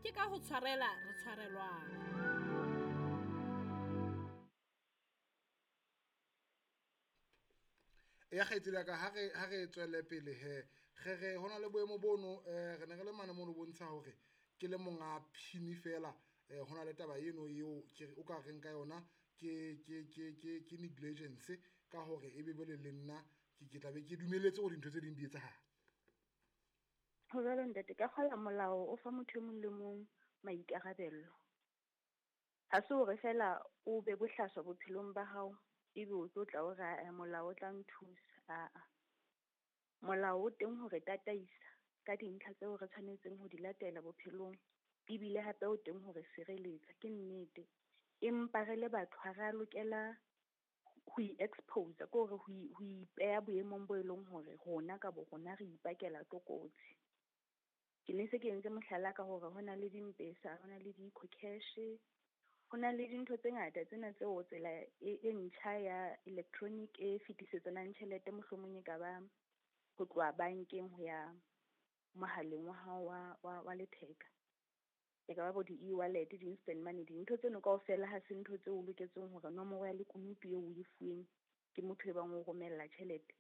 Ke ka ho tshwarela re tshwarelwang. Ya kgaitsedi ya ka, ha re tswele pele he, re re ho na le boemo bono, re ne re le mane mono bontsha hore ke le monga PIN fela. Ho na le taba eno eo ke o ka reng ka yona ke negligence, ka hore ebe jwale le nna ke tla be ke dumelletse hore dintho tse ding di etsahala. Ho jwalo ntate, ka kgola molao o fa motho e mong le mong maikarabello. Ha se hore feela o be bohlaswa bophelong ba hao, ebe o tlo tla o re ae molao o tla nthusa, aa. Molao o teng hore tataisa ka dintlha tseo re tshwanetseng ho di latela bophelong, ebile hape o teng hore sireletsa ke nnete. Empa re le batho ha re a lokela ho i-expose, ke hore ho ipeha boemong bo e leng hore rona ka bo rona re ipakela tlokotsi. Ke ne se ke entse mohlala ka hore ho na le di-M-Pesa, ho na le di-Ecocash, ho na le dintho tse ngata tsena tseo tsela e ntjha ya electronic e fetisetsang tjhelete mohlomong e ka ba ho tloha bankeng ho ya mohaleng wa hao wa letheka. E ka ba bo di-e-wallet, di-instant money, dintho tseno kaofela ha se ntho tseo o loketseng hore nomoro ya lekunutu eo o e fuweng ke motho e bang o romella tjhelete,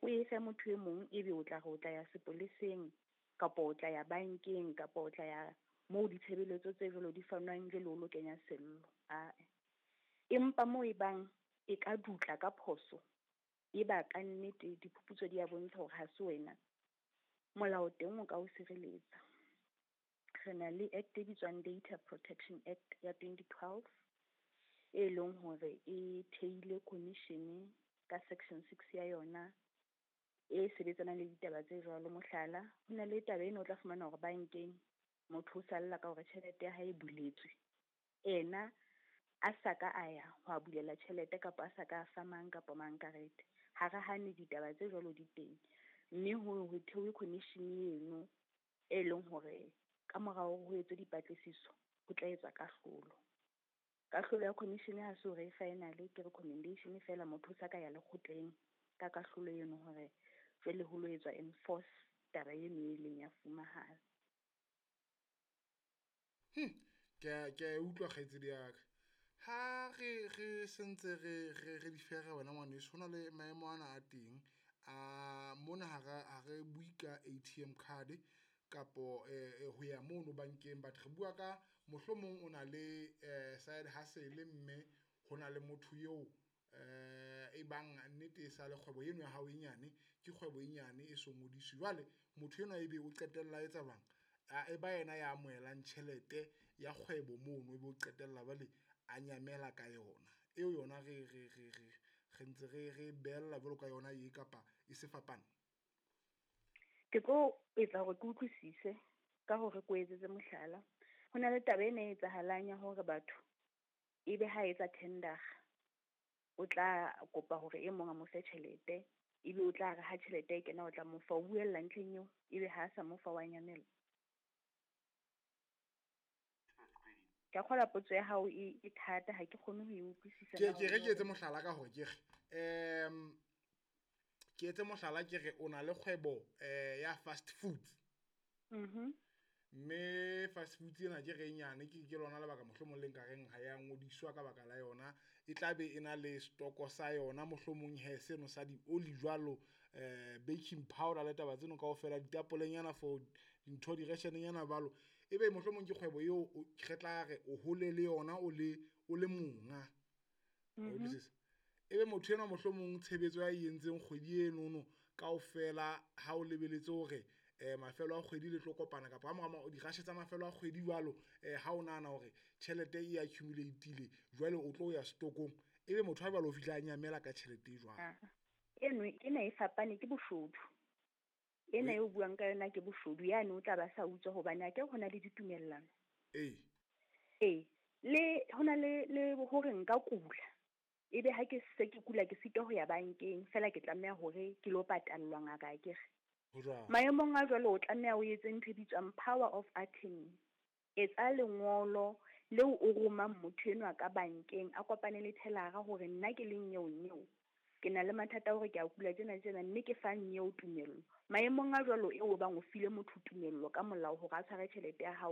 o e fe motho e mong, ebe o tla re o tla ya sepoleseng kapa o tla ya bankeng kapa o tla ya moo ditshebeletso tse jwalo di fanwang jwale o lo kenya sello, ae. Empa moo e bang e ka dutla ka phoso, e ba kannete diphuputso di a bontsha hore ha se wena, molao teng o ka o sireletsa. Re na le act e bitswang Data Protection Act ya 2012, e leng hore e theile commission ka section 6 ya yona e sebetsanang le ditaba tse jwalo. Mohlala, ho na le taba ena o tla fumana hore bankeng motho o salla ka hore tjhelete ya hae e buletswe, ena a sa ka a ya ho a bulela tjhelete kapa a sa ka a fa mang kapa mang karete. Ha re hane ditaba tse jwalo di teng, mme ho thewe commission eno e leng hore ka morao ho etswe dipatlisiso ho tla etswa kahlolo. Kahlolo ya commission ha se hore e final, ke recommendation fela, motho o sa ka ya lekgotleng ka kahlolo eno hore jwale ho lo etswa enforce taba eno e leng ya fumahala. Ke a e utlwa kgaitsedi ya ka. Ha re sentse re di fere wena ngwaneso, ho na le maemo ana a teng a mona. Ha re bue ka ATM card kapo ho ya mono bankeng, but re bua ka mohlomong o na le side hustle, mme ho na le motho eo e bang nnete e sa le kgwebo eno ya hao e nyane, ke kgwebo e nyane e so ngodiswe. Jwale motho enwa ebe o qetella a etsa jwang, e ba yena ya amohelang tjhelete ya kgwebo mono, ebe o qetella jwale a nyamela ka yona eo. Yona re ntse re behella jwalo ka yona e kapa e se fapane. Ke tlo etsa hore ke utlwisise ka hore ke o etsetse mohlala. Ho na le taba ena e etsahalang ya hore batho ebe ha etsa tender, o tla kopa hore e mong a mo fe tjhelete, ebe o tla re ha tjhelete e kena o tla mo fa, o buella ntlheng eo, ebe ha sa mo fa wa nyamela. Ke a kgolwa potso ya hao e thata, ha ke kgone ho e utlwisisa. Ke re ke etse mohlala ka hore ke re ke etse mohlala, ke re o na le kgwebo ya fast food. Mme fast food ena ke re e nyane, ke lona lebaka mohlomong le nka reng ha ya ngodiswa ka baka la yona. E tla be e na le stoko sa yona, mohlomong he seno sa di-oli jwalo, baking powder le taba tseno kaofela, ditapolenyana for dintho, direshenenyana jwalo. Ebe mohlomong ke kgwebo eo re tla re o hole le yona, o le monga. Wa utlwisisa? Ebe motho enwa mohlomong tshebetso ya e entseng kgwedi enono kaofela, ha o lebeletse hore mafelo a kgwedi le tlo kopana kapa ha mora dirashe tsa mafelo a kgwedi jwalo, ha o nahana hore tjhelete e accumulate-ile, jwale o tlo ya stokong, ebe motho ha jwale o fihla a nyamela ka tjhelete e jwalo. Ah, eno ena e fapane, ke boshodu. Ena e o buang ka yona ke boshodu, yane o tla ba sa utswa hobane a ke ho na le ditumellano. Ee, le hona le hore nka kula, ebe ha ke se ke kula ke sitwa ho ya bankeng, fela ke tlameha hore ke lo patallwa ngaka akere. Ho jwalo. Maemong a jwalo o tlameha o etse ntho e bitswang power of attorney. Etsa lengolo leo o romang motho enwa ka bankeng, a kopane le teller-a hore nna ke le nyeo nyeo, ke na le mathata a hore ke a kula tjena tjena, mme ke fa nyeo tumello. Maemong a jwalo eo bang o file motho tumello ka molao hore a tshware tjhelete ya hao.